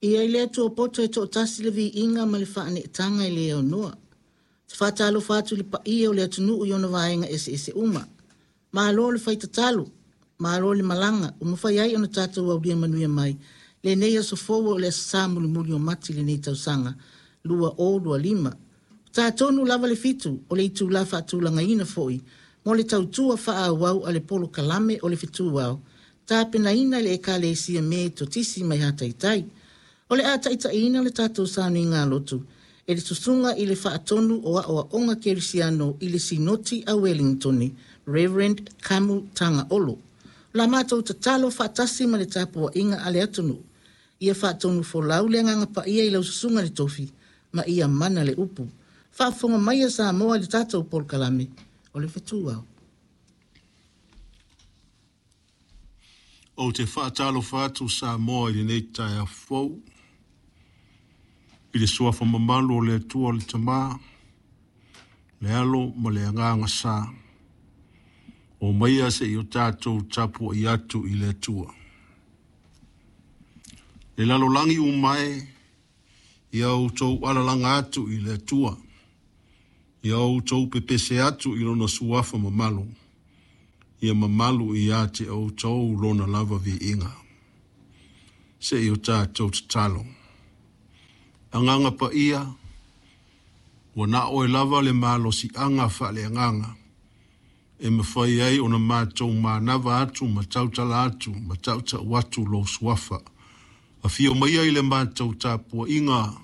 Ia i le Atua poto e toatasi le viiga ma le faaneetaga e le aunoa. Ou te faatalofa atu i le paia o le atunuu i ona vaega eseese uma. Malo le fai tatalo, malo le malaga ua mafai ai ona tatou aulia manuia mai lenei aso fou o le Aso Sa mulimuli o Mati i lenei tausaga 2025. Ua ta tonu lava le 7 o le itula faatulagaina foi mo le tautua faaauau a le polokalame o le Fetu Ao, tapenaina e le Ekalesia Metotisi mai Hataitai. O le a taitaiina le tatou sauniga lotu e le susuga i le faatonu o Aoaoga Kerisiano i le Sinoti a Wellington, Reverend Kamu Tagaolo. O la matou tatalo faatasi ma le tapuaiga a le atunuu, ia faatonu folau le agaga paia i lau susuga le tofi, ma ia mana le upu. Faafofoga mai a Samoa i le tatou polokalame o le Fetu Ao. Ou te faatalofa atu Samoa i lenei taeao fou, i le suafa mamalu o le Atua le Tama, le Alo ma le Agaga Sa. O maia se i o tatou tapuai atu i le Atua. Le lalolagi umae, ia outou alalaga atu i le Atua, ia outou pepese atu i lona suafa mamalu, ia mamalu ia te outou lona lava viiga. Se i o tatou tatalo. Agaga paia, ua na oe lava le malosiaga faaleagaga, e mafai ai ona matou manava atu ma tautala atu ma tautau atu lou suafa. Afio maia i le matou tapuaiga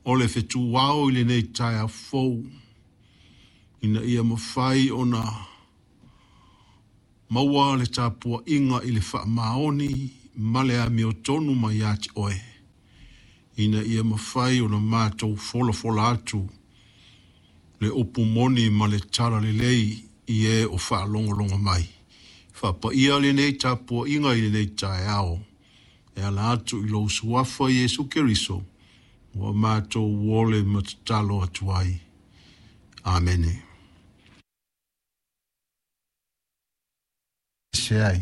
o le fetu ao i lenei taeao fou, ina ia mafai ona maua le tapuaiga i le faamaoni ma le amiotonu mai ia te oe, ina ia mafai ona matou folafola atu le upu moni ma le tala lelei i e o faalogologo mai. Faapaia lenei tapuaiga i lenei taeao, e ala atu i lou suafa Iesu Keriso, ua matou ole ma tatalo atu ai. Amene. Se ai.